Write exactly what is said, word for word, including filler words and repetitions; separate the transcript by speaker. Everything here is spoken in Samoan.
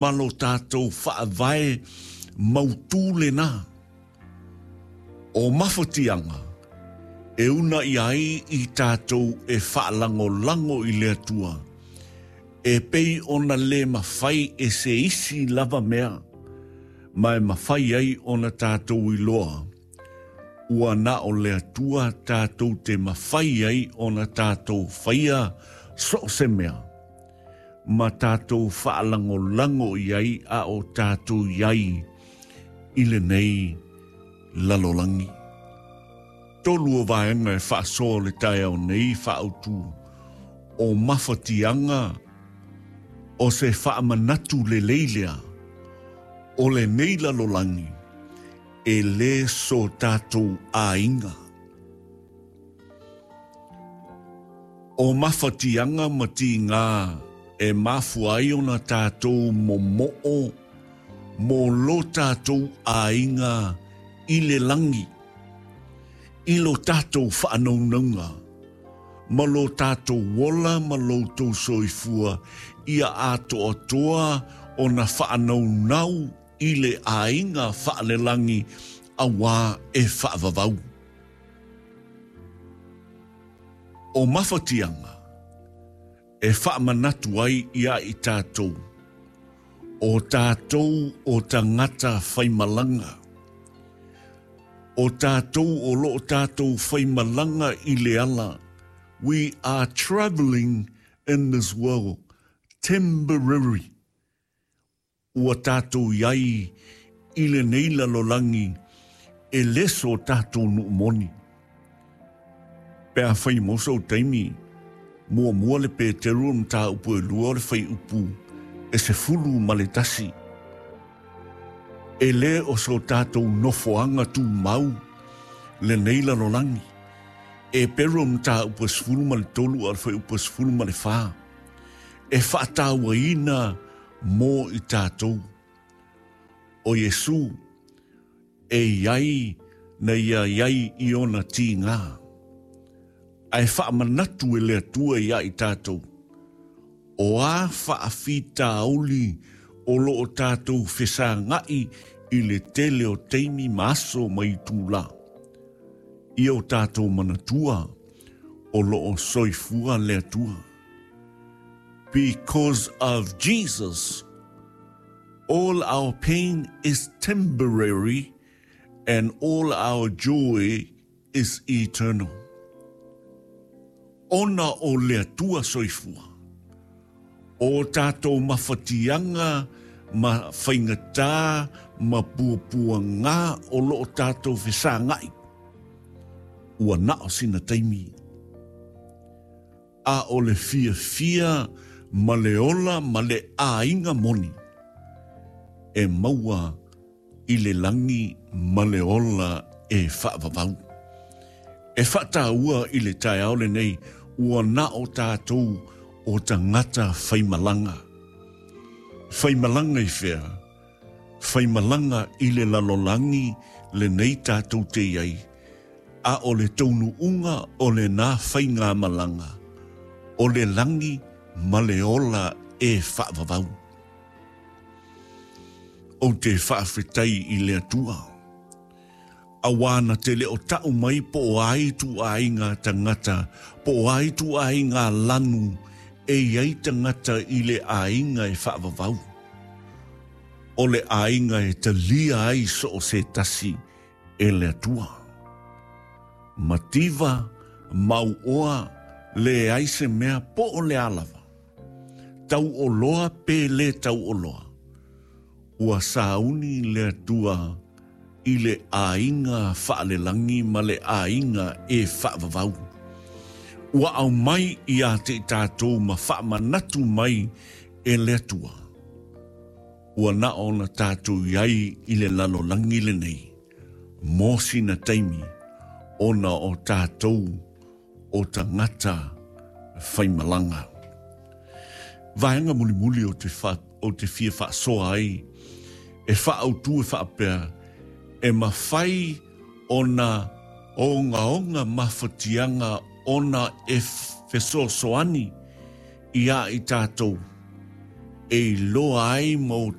Speaker 1: Ma lo tātou faavae mautū lenā. O mafatiaga e uunai ai i tātou e faalagolago i le Atua. E pei ona le mafai e se isi lava mea, ma e mafai ai ona tātou iloa. Ua na o le Atua tātou te mafai ai ona tātou faia so o se mea. Ma tātou faalagolago i ai a o tātou i ai i lenei lalolagi. Tolu o vaega e faasoa le taeao nei faaautu o mafatiaga o se faamanatu lelei lea o lenei lalolagi e lē so tātou aiga. O mafatiaga ma tigā e mafua ai ona tātou momoo mo lo tātou aiga i le lagi, i lo tātou faanaunauga, ma lo tātou ola ma lo tou soifua, ia atoatoa ona faanaunau i le aiga faalelagi auā e faavavau. O mafatiaga e faamanatu ai iā i tātou, o tātou o tagata faimalaga, o tātou o loo tātou faimalaga i le ala. We are travelling in this world temporary. Ua tātou i ai i lenei lalolagi e lē so tātou nuu moni. Pe afai mo sou taimi, muamua le Peteru o mataupu e lua o le fuaiupu e sefulu ma le tasi. E lē o so tātou nofoaga tumau lenei lalolagi. Eperu o mataupu e sefulu ma le tolu a o le fuaiupu e sefulu ma le fā. E faatauaina mo i tātou. O Iesu e i ai na ia i ai i ona tigā. Ae faamanatu e le Atua iā i tātou. O a faafitauli o loo tātou fesagai i le tele o taimi ma aso ma itulā. Ia o tātou manatua o loo soifua le Atua. Because of Jesus, all our pain is temporary and all our joy is eternal. Ona o le Atua soifua. O tātou mafatiaga ma faigatā ma puapuagā o loo tātou fesagai. Ua na o sina taimi. A o le fiafia ma le ola ma le aiga moni. E maua i le lagi ma le ola e faavavau. E faataua i le taeao lenei ua na o tātou o tagata faimalaga. Faimalaga i fea, faimalaga i le lalolagi lenei tātou te i ai, a o le taunuuga o lenā faigamalaga, o le lagi ma le ola e faavavau. Ou te faafetai i le Atua. Auā na te le o tau mai po o a ituaiga tagata, po o a ituaiga lanu e i ai tagata i le aiga e faavavau. O le aiga e talia ai so o se tasi e le Atua. Mativa, mauoa, leai se mea po o le a lava. Tauoloa pe lē tauoloa. Ua sauni le Atua i le aiga faalelagi ma le aiga e faavavau. Ua aumai iā te i tātou ma faamanatu mai e le Atua. Ua na ona tātou i ai i le lalolagi lenei. Mo sina taimi ona o tātou o tagata faimalaga. Vaega mulimuli o te, fa, o te fia faasoa ai, e faaautu e faapea, e mafai ona ogaoga mafatiaga ona e fesoasoani iā i tātou. e iloa ai ma